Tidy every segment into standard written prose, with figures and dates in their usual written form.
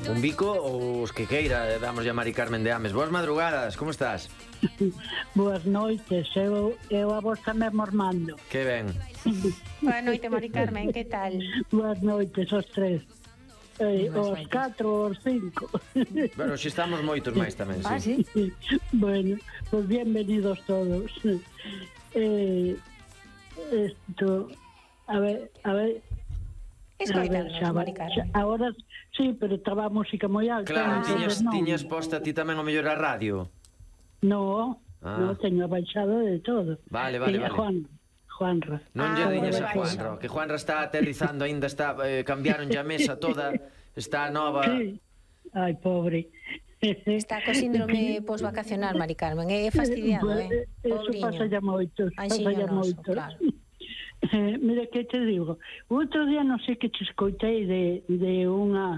Un bico ou os que queira, damos a Mari Carmen de Ames. Boas madrugadas, como estás? Boas noites, eu a vos tamén mormando. Que ben. Boa noite, Mari Carmen, que tal? Boas noites, os tres. Os 4, os 5. Bueno, xe estamos moitos máis tamén, sí. Ah, sí? Bueno, pues bienvenidos todos. Esto, a ver... Escoitanos, Mari Carmen. Ahora sí, pero estaba a música moi alta. Claro, entonces tiñas posta ti tamén o mellor a radio. No, teño abaixado de todo. Vale. Juanra. Non lle diñas a Juanra, que Juanra está aterrizando, ainda está, cambiaron a mesa toda, está nova. Sí. Ai, pobre. Está co síndrome posvacacional, Mari Carmen, é fastidiado, Eso pasa ya moito, claro. Mira que te digo, outro día non sei que te escoitei de unha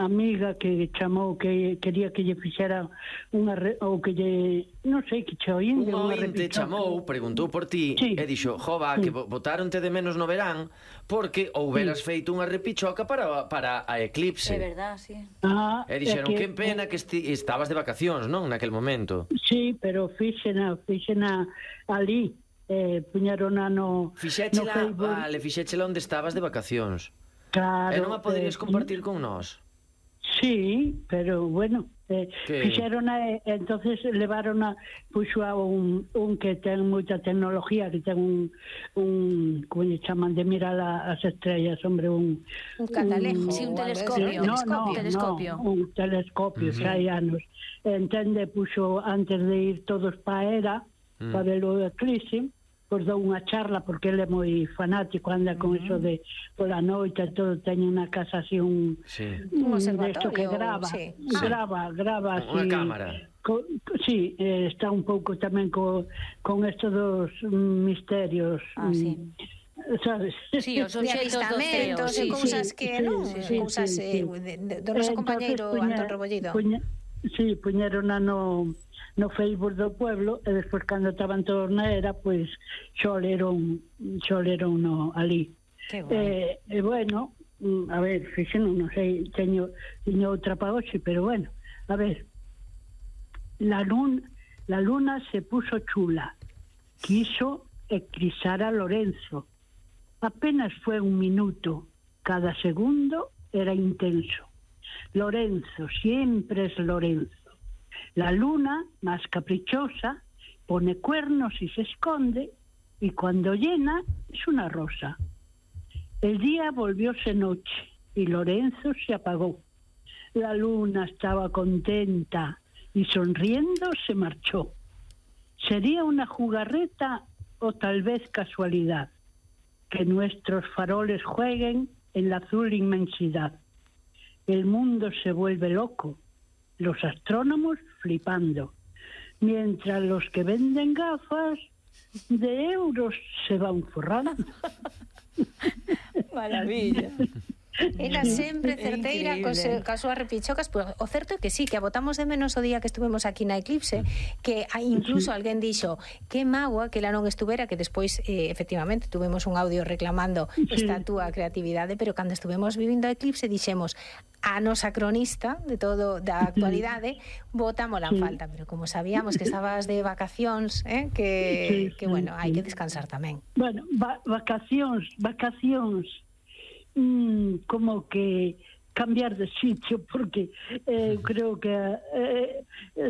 amiga que chamou que quería que lle fixera ou que lle, non sei, que che oínde Un ointe chamou, preguntou por ti, sí. E dixo, jova, que botaronte de menos no verán porque houberas feito unha repichoca para a Eclipse. É verdad, sí. E dixeron, que pena que estabas de vacacións, non, naquel momento. Sí, pero fixena ali, puñerona no Facebook. Vale, fixéchela onde estabas de vacacións. Claro. E non a poderías compartir con nós? Sí, pero bueno, fixerona, entonces levaron puxo a un que ten moita tecnología, que ten un como lle chaman, de mirar as estrellas, hombre, un catalejo, sí, un telescopio. Un telescopio, xa hai anos. Entende, puxo antes de ir todos pa era, para ver o eclipse, pois dou unha charla, porque ele é moi fanático, anda con eso de pola noite, todo, teñe unha casa así, un observatorio que grava, sí. grava así, unha cámara. Sí, está un pouco tamén con esto dos misterios, sí. Sabes? Sí, os obxectos do ceo, e cousas que non, cousas do noso compañeiro Antón Rebollido. Sí, puñeron no Facebook do pueblo, e despois cando estaban todos na era, pois xoleron ali. E bueno, a ver, fixen, non sei, teño outra pa hoxe, pero bueno, a ver, la luna se puso chula, quiso eclipsar a Lorenzo. Apenas fue un minuto, cada segundo era intenso. Lorenzo, siempre es Lorenzo. La luna, más caprichosa, pone cuernos y se esconde, y cuando llena es una rosa. El día volvióse noche y Lorenzo se apagó. La luna estaba contenta y sonriendo se marchó. Sería una jugarreta o tal vez casualidad que nuestros faroles jueguen en la azul inmensidad. El mundo se vuelve loco, los astrónomos flipando, mientras los que venden gafas de euros se van forrando. Maravilla. Ela sempre certeira coas súas repichocas, pues, o certo é que sí, que a botamos de menos o día que estuvemos aquí na Eclipse, que incluso alguén dixo que mágoa que ela non estuvera, que despois efectivamente tuvemos un audio reclamando esta túa creatividade, pero cando estuvemos vivindo a Eclipse dixemos a nosa cronista de todo da actualidade botámola en falta, pero como sabíamos que estabas de vacacións, que bueno, hai que descansar tamén. Bueno, vacacións como que cambiar de sitio, porque creo que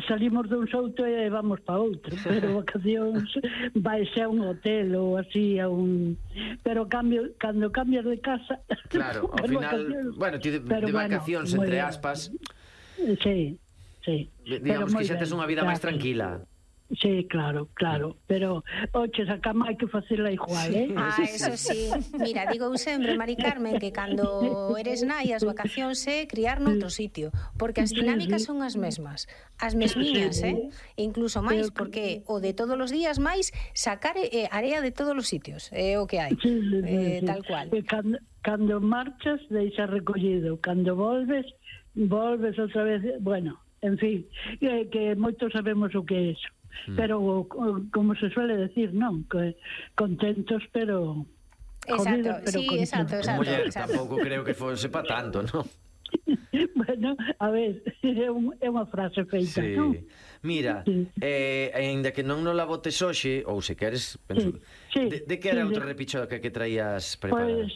salimos dun souto e vamos para outro, pero vacacións vai ser a un hotel ou así a un... pero cando cambias de casa, claro, ao final, bueno, ti de vacacións entre aspas, sí, digamos que xa tes unha vida máis tranquila. Sí, claro, pero oches, a cama hai que facela igual, eso sí. Mira, digo sempre, Mari Carmen, que cando eres nai, as vacacións é criar noutro sitio, porque as dinámicas son as mesmas, as mesmiñas, e incluso máis, porque o de todos os días máis sacar area de todos os sitios, é o que hai, tal cual. Cando marchas, deixas recollido, cando volves outra vez, bueno, en fin, que moitos sabemos o que é eso. Pero como se suele decir, non, que contentos, pero exacto, jodidos, pero sí, contentos. exacto. Muller, tampouco creo que fose para tanto, non? Bueno, a ver, é unha frase feita, Sí. non? Mira, aínda que non nos la botes hoxe, ou se queres, penso, Sí, de que era sí, outra sí. repichoca que traías preparada? Pois,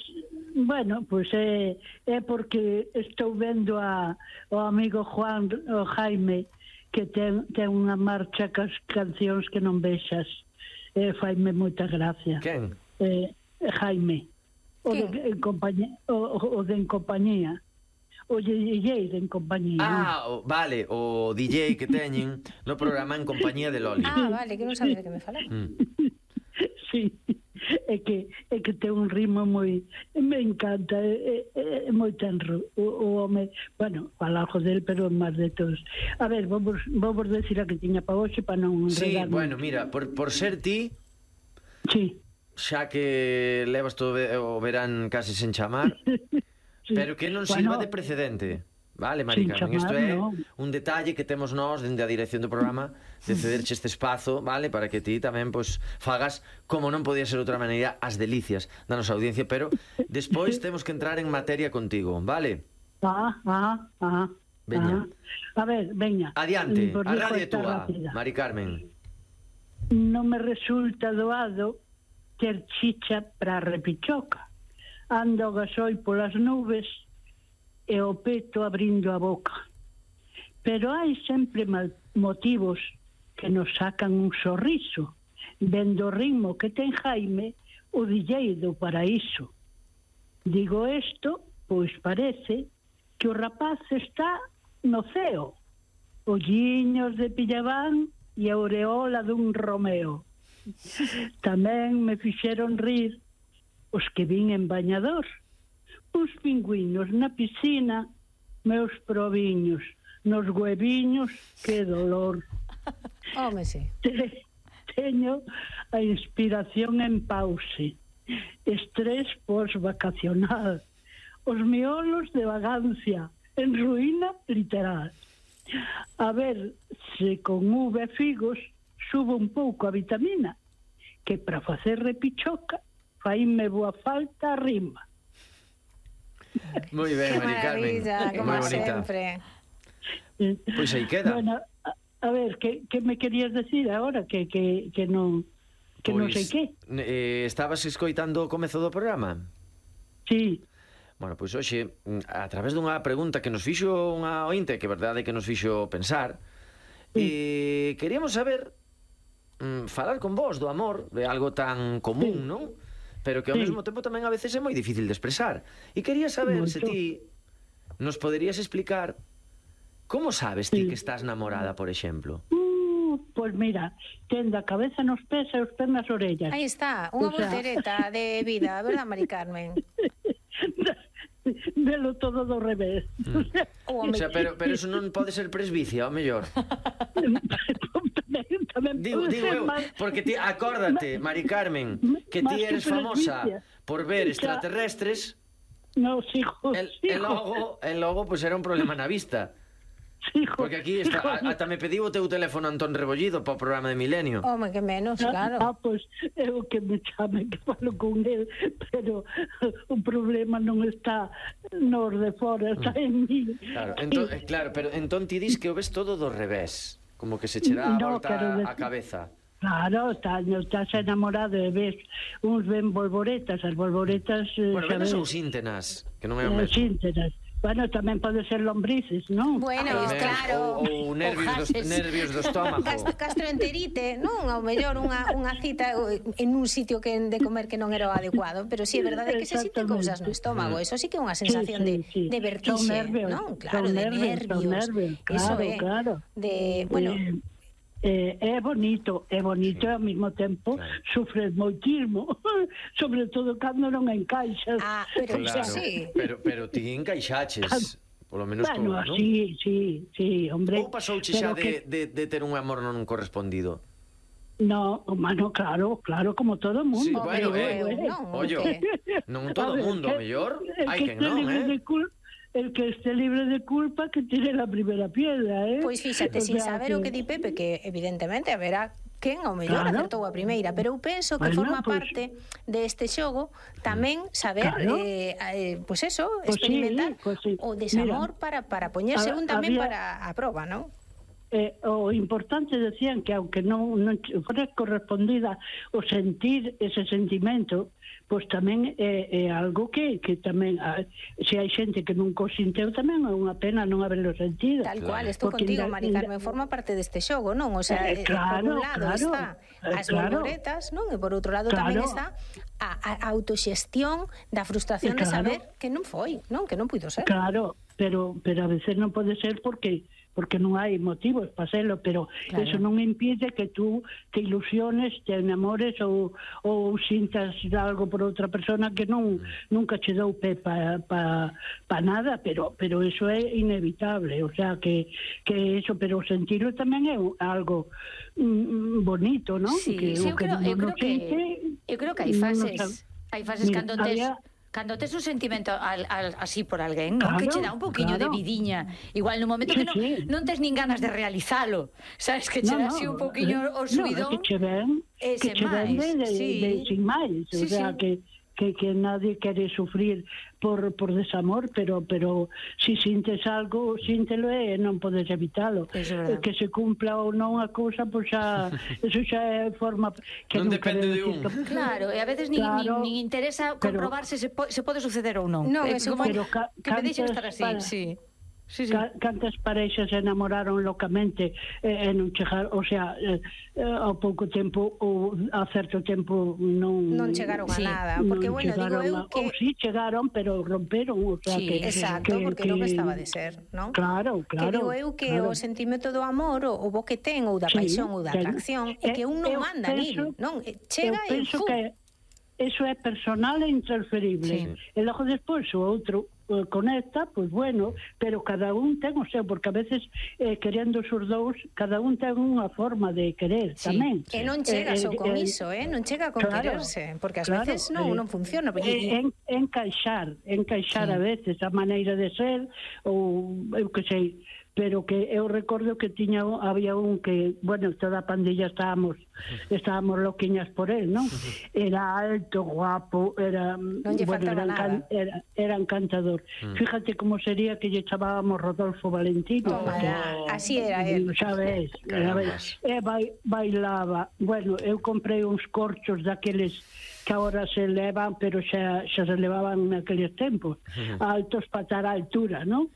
bueno, pois é porque estou vendo o amigo Juan, o Jaime, que ten unha marcha cas cancións que non vexas. Faime moita gracia. Quen? Jaime. O de En Compañía. O DJ de En Compañía. Vale, o DJ que teñen no programa En Compañía de Loli. Vale, que non sabía de que me falaba. Sí, é que ten un ritmo moi... Me encanta, é moi tenro. O home, bueno, falajo del, pero máis de todos. A ver, vamos decir a que tiña para hoxe para non Sí, enredar. bueno, mira, por ser ti, Sí. xa que levas todo o verán case sen chamar, Sí. pero que non sirva de precedente. Vale, Mari Sin Carmen, isto chamar, é no. un detalle que temos nós dende a dirección do programa de cederche este espazo, vale, para que ti tamén pois fagas, como non podía ser outra maneira, as delicias da nosa audiencia, pero despois temos que entrar en materia contigo, vale? Veña. A ver, veña. Adiante, Por a dijo radio é esta túa, rápida. Mari Carmen. Non me resulta doado ter chicha para repichoca. Ando o gasoi polas nubes e o peto abrindo a boca. Pero hai sempre motivos que nos sacan un sorriso, vendo o ritmo que ten Jaime, o DJ do paraíso. Digo isto, pois parece que o rapaz está no ceo, olliños de Pillabán e a aureola dun Romeo. Tamén me fixeron rir os que vin en bañador, uns pingüinos na piscina, meus proviños, nos hueviños, que dolor. Home, sí. Teño a inspiración en pause, estrés post-vacacional, os miolos de vagancia, en ruína literal. A ver se con uve figos subo un pouco a vitamina, que para facer repichoca faime boa falta a rima. Moi ben, Qué Mari Carmen. maravilla, como Moi bonita. sempre. Pois aí queda. Bueno, a ver, que me querías decir agora? Que non sei que. Estabas escoitando o comezo do programa? Sí. Bueno, pois hoxe, a través dunha pregunta que nos fixo unha ointe, que verdade que nos fixo pensar, queríamos saber, falar con vos do amor, de algo tan común, non? Pero que ao mesmo tempo tamén a veces é moi difícil de expresar. E quería saber se ti nos poderías explicar como sabes ti que estás namorada, por exemplo. Pois mira, ten da cabeza nos pés e os pés nas orellas. Aí está, unha voltereta de vida, verdad, Mari Carmen? Velo todo do revés. O sea, pero eso non pode ser presbicia, ao mellor. Tamén Digo eu, porque ti, acórdate, Mari Carmen, que ti eres famosa por ver extraterrestres. No, hijo. E logo, pois era un problema na vista. Porque aquí está, ata me pediu o teu teléfono Antón Rebollido para o programa de Milenio. Home, que menos, claro. Pois é o que me chame, que falo con el, pero o problema non está nos de fora, está en mí. Claro, pero entón ti dis que o ves todo do revés, como que se che dá a volta a cabeza. Claro, estás enamorado e ves uns ven bolboretas, as bolboretas... Bueno, venas ou síntenas, que non é o mesmo. Síntenas. Bueno, tamén pode ser lombrices, non? Bueno, claro. Ou nervios do estómago. Gastroenterite, non? Ao mellor unha cita en un sitio que de comer que non era o adecuado, pero si é verdade que se sinten cousas no estómago. Eso sí que é unha sensación de vertixe, non? Claro, de nervios. Eso é. De, bueno... É bonito e ao mesmo tempo sufres moitismo, sobre todo cando non encaixas. Pero claro, sí. Pero ti encaixaches, polo menos bueno, non? Sí, hombre. Ou pasouche xa de ter un amor non correspondido? No, mano, claro, como todo mundo. Sí, bueno, non todo mundo, a mellor hai quen non, El que esté libre de culpa que tire la primera piedra, Pois fíxate, sin saber o que di Pepe, que evidentemente haberá quen ao mellor acertou a primeira, pero eu penso que forma parte deste xogo tamén saber pois eso, experimentar o desamor para poñerse un tamén para a proba, non? O importante decían que aunque non fora correspondida o sentir ese sentimento, pois tamén é algo que tamén se hai xente que non o sinteu tamén é unha pena non haberlo sentido. Tal cual, estou contigo, Mari Carmen, forma parte deste xogo, non? O sea, por un lado está as borboletas, non? E por outro lado tamén está a autoxestión da frustración de saber que non foi, non? Que non puido ser. Claro, pero a veces non pode ser porque non hai motivos para serlo, pero eso non impide que tú te ilusiones, te enamores ou sintas algo por outra persona que nunca che dou pé pa nada, pero eso é inevitable, o sea que eso, pero sentirlo tamén é algo bonito, non? Sí, eu creo que hai fases cando tes un sentimento así por alguén, non? Que che dá un poquinho de vidiña. Igual no momento que non tes nin ganas de realizalo, sabes, que che dá así un poquinho o subidón. Que che ven de sin máis, o sea que nadie quere sufrir por desamor, pero si sintes algo, síntelo e non podes evitalo. Que se cumpla ou non a cousa, pois xa eso xa é forma que non depende de un. Claro, e a veces nin interesa comprobar se pode suceder ou non. Non, é como que me deixen estar así, Cantas pareixas se enamoraron locamente e non chegaron, o sea, ao pouco tempo ou a certo tempo non chegaron a nada, porque bueno, digo eu que ou si chegaron, pero romperon, o sea que exacto, porque non estaba de ser, non? Claro. Que digo eu que o sentimento do amor ou bo que ten ou da paixón ou da atracción é que un non manda nil, non? Chega e penso que eso é personal e intransferible. E logo despois o outro conecta, pois bueno, pero cada un ten o seu, porque a veces querendo os dous, cada un ten unha forma de querer tamén. E non chega só con iso, non chega con quererse, porque ás veces non funciona. Encaixar a veces a maneira de ser, ou eu que sei, pero que eu recordo que había un que, bueno, toda a pandilla estábamos loquiñas por él, non? Era alto, guapo, era encantador. Fíjate como sería que lle chamábamos Rodolfo Valentino. Así era él. Sabes, bailaba. Bueno, eu comprei uns corchos daqueles que agora se levan, pero xa se levaban naqueles tempos, altos para estar a altura, non?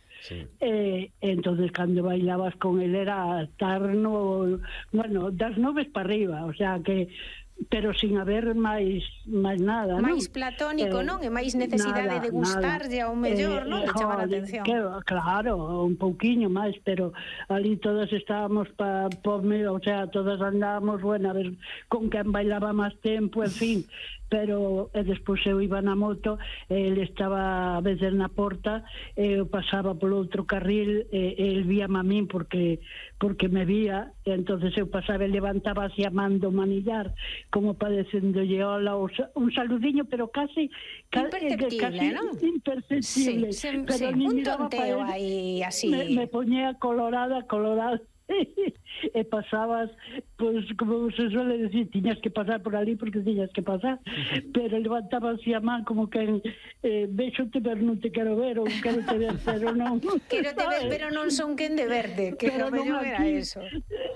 Entonces cando bailabas con él era estar das nubes para arriba, o sea que pero sin haber máis nada, non? Máis platónico, non? E máis necesidade de gustarlle ao mellor, non? De chamar a atención. Claro, un pouquiño máis, pero ali todas estábamos o sea, todas andábamos, bueno, a ver con quen bailaba máis tempo, en fin, pero despois eu iba na moto, ele estaba a veces na porta, eu pasaba polo outro carril, el víame a min porque me vía, e entonces eu pasaba e levantaba así a man do manillar, como padecendolle hola, un saludiño, pero casi imperceptible, non? Imperceptible. Un tonteo aí así. Me poñía colorada, e pasabas, pues como se suele decir, tiñas que pasar por ali porque tiñas que pasar, pero levantaba así a man como que vexote pero non te quero ver, ou quero te ver pero non quero te ver pero non son quen de verte, que o mellor era eso.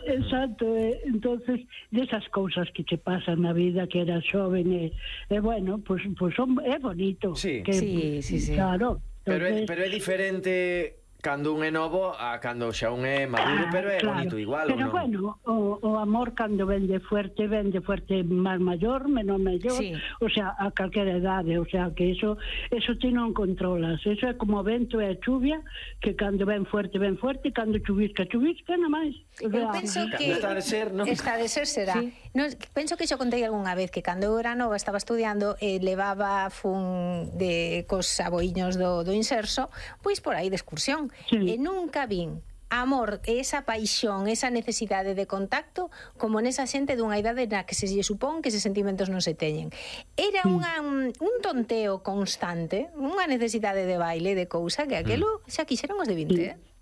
Exacto, entonces desas cousas que te pasan na vida, que eras xoven e bueno, pues é bonito. Sí. Claro. Pero é diferente cando un é novo a cando xa un é maduro, pero é bonito igual, pero bueno, o amor cando vende fuerte máis maior, menos maior, o sea, a calquera idade, o sea, que eso ti non controlas, eso é como o vento e a chuvia, que cando ven fuerte, cando chuvisca, nada máis. Eu penso que está de ser, non? Está de ser será. Penso que xo contei algunha vez que cando eu era nova estaba estudiando levaba cos aboiños do Inserso, pois por aí de excursión. E nunca vin amor, esa paixón, esa necesidade de contacto como nesa xente dunha idade na que se lle supón que eses sentimentos non se teñen. Era un tonteo constante, unha necesidade de baile, de cousa, que aquelo xa quixeron os de 20,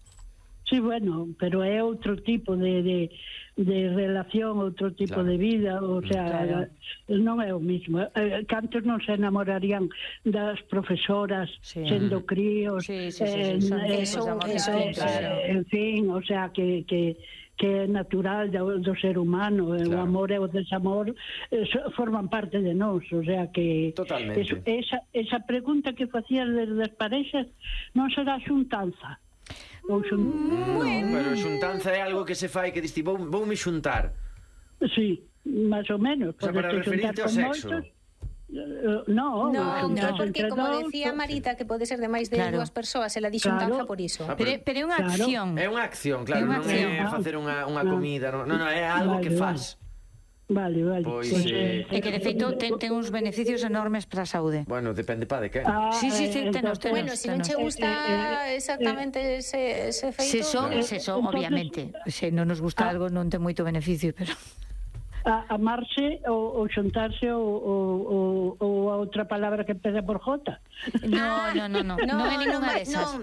Sí, bueno, pero é outro tipo de relación, outro tipo de vida, o sea, non é o mismo. Cantos non se enamorarían das profesoras sendo críos, en fin, o sea, que é natural do ser humano, o amor e o desamor forman parte de nós, o sea que esa pregunta que facías das parexas non será xuntanza. Pero xuntanza é algo que se fai que diste, voume xuntar. Sí, máis ou menos. O sea, para referirte ao sexo. No, porque como decía Marita que pode ser de máis de dúas persoas, ela di xuntanza por iso. Pero é unha acción. É unha acción, claro, non é facer unha comida, non, é algo que faz. Vale. É que de feito ten uns beneficios enormes para a saúde. Bueno, depende de quen. Sí, tenos. Bueno, se non che gusta exactamente ese feito... Se son, obviamente. Se non nos gusta algo non ten moito beneficio, pero... Amarse ou xuntarse ou a outra palabra que empeza por J. No é ninguna desas.